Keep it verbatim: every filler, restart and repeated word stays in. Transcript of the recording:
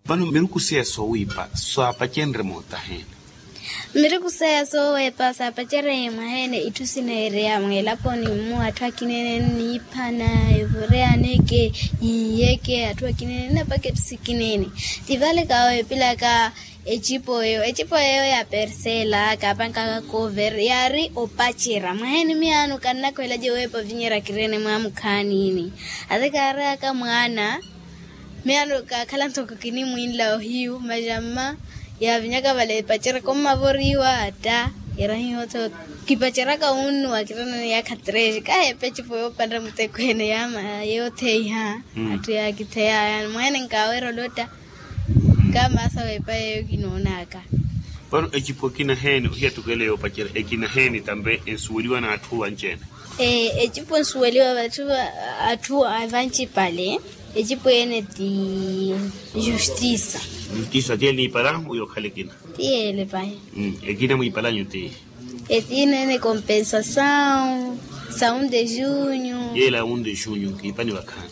Vano miruku seya soowiipa saapacenrye mootaheene? Miruku seya sooweepa saapacereye mwaheene itthu sineereya mweelaponi mmu atthu akineene niiphana evoreyaneke, yiiyeke atthu akineene nnapaka etthu sikineene. Ti vale kaaweepelaka ecipo eyo ecipo eyo ya persela kaapankaka cover yaari opacerya mwaheene miyaano kannakhwelace weepa ovinyerya kireene mwaamukhaanini. Ate kaareyaka mwaana miyaano kaakhala ntoko kinimwiinla ohiyu masi amma yaavinyaka vale epacerya kommavoriwa atta. Yarahihoto kipaceryaka wunnuwa kireene yaakha trece kaheepa ecipo yoopanrya mutekweene yaama yootheiha. Atthu yaakitheyaya mwaheene nkaawerya olotta. Kamaasa weepa yeeyo kinoonaka. Vano ecipo ekina heeni ohiyattukela yoopacerya ekina heeni tampe ensuweliwa n'atthu vanci-ene? Ecipo ensuweliwa vatthu atthu avancipale. Ecipo ene ti justisa. Justisa ti ele niipala uyo okhala ekina? Ti ele pahi. Ekina mwiipalanyu ti? Etiina ene compensasawu. Sawu de junyu. Yela un de junyu kiipani vakhaani.